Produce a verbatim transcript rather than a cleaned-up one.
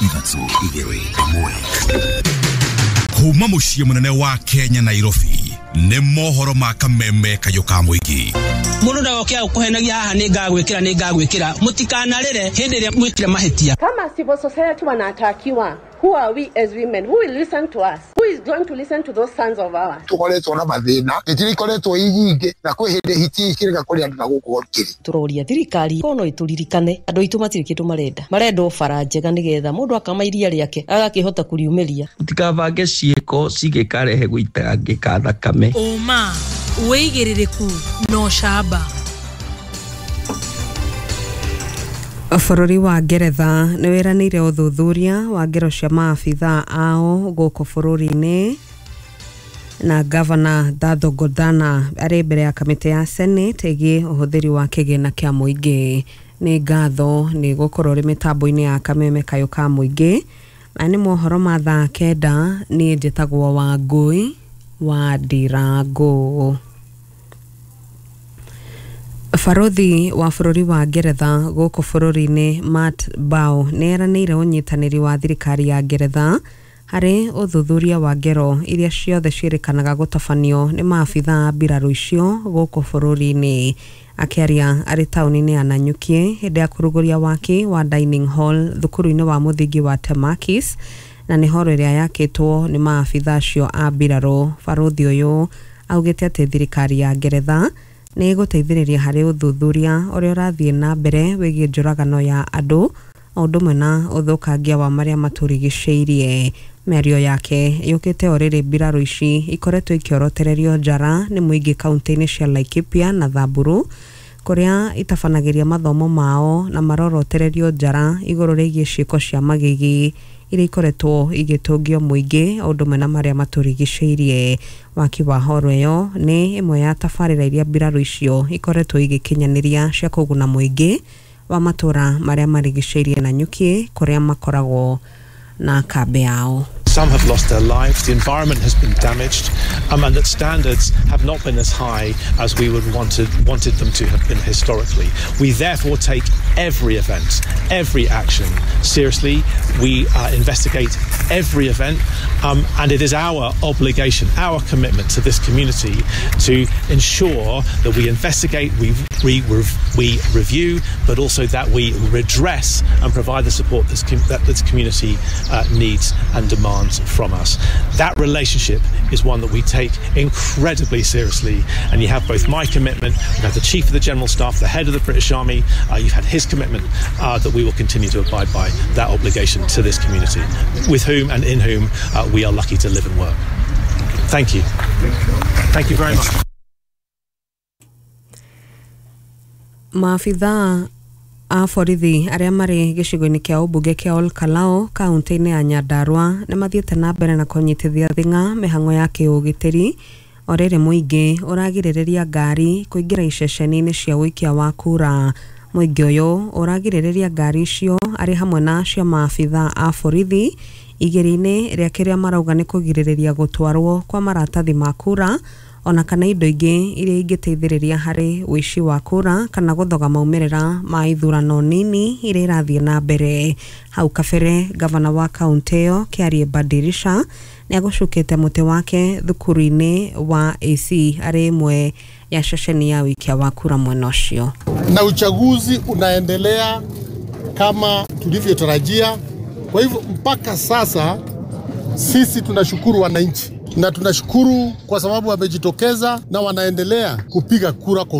Ithatũ igĩrĩ ĩmwe. Kuma mũciĩ mũnene wa Kenya, Nairobi, nĩ mohoro ma kameme kayũ ka mũingĩ. Mũndũ ndagoke agũkũhenagia haha, nĩ ngagwĩkĩra, nĩ ngagwĩkĩra. Mũtikanarĩre hĩndĩ ĩrĩa mwĩkire mahĩtia. Kama civil society wanatakiwa, who are we as women? Who will listen to us? Who is going to listen to those sons of ours? Tukoretwo na mathĩna, hiti ikoretwo i nyingĩ, na kwĩ hĩndĩ hiti ikĩrega kũrĩa andũ na gũkũ kĩrĩ. Tũroria thirikari ko no ĩtũririkane, andũ aitũ matirĩ kĩndũ marenda, marenda o bara njega nĩgetha mũndũ akama iria rĩake agakĩhota kũriumĩria. Mũtikabange ciĩko cingĩkarehe gũitangĩka thakame. Ũma, wĩigĩrĩrĩku na ũcamba. Bũrũri wa Ngeretha nĩ wĩranĩire ũthuthuria wa ngero cia maabithaa ao gũkũ bũrũri-inĩ, na Gavana Datho Godhana arĩ mbere ya kamĩtĩ ya Senate ĩgiĩ ũhũthĩri wa kĩgĩna kĩa mũingĩ. Nĩ ngatho nĩ gũkorwo ũrĩ mĩtambo-inĩ ya kameme kayũ ka mũingĩ. Maya nĩ mohoro ma thaa kenda. Niĩ njĩtagwo Wangũi wa Ndirango. Barothi wa bũrũri wa Ngeretha gũkũ bũrũri-inĩ Matt Bow nĩ eranĩire ũnyitanĩri wa thirikari ya Ngeretha harĩ ũthuthuria wa ngero iria ciothe ciĩrĩkanaga gũtabanio nĩ maabithaa a mbirarũ icio gũkũ bũrũri-inĩ. Akĩaria arĩ taũni-inĩ ya Nanyuki hĩndĩ ya kũrugũria waki wa dining hall thukuru-inĩ wa mũthingi wa Temakis, na nĩ horo ĩrĩa yakĩtwo nĩ maabithaa acio a mbirarũ, barothi ũyũ augĩte atĩ thirikari ya Ngeretha nĩ ĩgũteithĩrĩria harĩ ũthuthuria ũrĩa ũrathiĩ na mbere wĩgiĩ njũragano ya andũ o ũndũ ũmwe na ũthũkangia wa marĩa matũrigicĩirie. Mĩario yake yũkĩte o rĩrĩ mbirarũ ici ikoretwo ikĩorotererio njara nĩ mũingĩ kaunti-inĩ cia Laikipia na Samburu, kũrĩa itabanagĩria mathomo mao na marorotererio njara igũrũ rĩgiĩ ciĩko cia magigi iria ikoretwo igĩtũngio mũingĩ o ũndũ ũmwe na marĩa matũrigicĩirie. Waki wa horo ĩyo nĩ ĩmwe ya tabarĩra iria mbirarũ icio ikoretwo igĩkinyanĩria cia kũguna mũingĩ wa matũra marĩa marigicĩirie Nanyuki kũrĩa makoragwo na kambĩ yao. Some have lost their lives, the environment has been damaged, um, and that standards have not been as high as we would wanted, wanted them to have been historically. We therefore take every event, every action seriously. We uh, investigate every event, um, and it is our obligation, our commitment to this community to ensure that we investigate, we, we, we review, but also that we redress and provide the support this com- that this community uh, needs and demands from us. That relationship is one that we take incredibly seriously, and you have both my commitment, you have the Chief of the General Staff, the head of the British Army, uh, you've had his commitment uh, that we will continue to abide by that obligation to this community, with whom and in whom uh, we are lucky to live and work. Thank you. Thank you very much. Maabithaa a borithi arĩa marĩ gĩcigo-inĩ kĩa ũmbunge kĩa Ol Kalou kaunti-inĩ ya Nyandarua nĩ mathiĩte na mbere na kũnyitithia thing'a mĩhang'o ya kĩũgitĩri o rĩrĩ mũingĩ ũragirĩrĩria ngari kũingĩra iceceni-inĩ cia ũikia wa kura. Mũingĩ ũyũ ũragirĩrĩria ngari icio arĩ hamwe na cia maabithaa a borithi igĩrĩ-inĩ rĩa kĩrĩa marauga nĩ kũgirĩrĩria gũtwarwo kwa maratathi ma kura ona kana indo ingĩ iria ingĩteithĩrĩria harĩ ũici wa kura kana gũthoga maumĩrĩra ma ithurano nini iria irathiĩ na mbere. Hau kabere gavana wa kaunti ĩyo Kĩarie Badirisha nĩ agũcukĩte mũtĩ wake thukuru-inĩ wa A C arĩ ĩmwe ya ceceni ya ũikia wa kura mwena ũcio. Na uchaguzi unaendelea kama tulivyotarajia. Kwa hivyo mpaka sasa sisi tunashukuru wananchi na tunashukuru kwa sababu wamejitokeza na wanaendelea kupiga kura kwa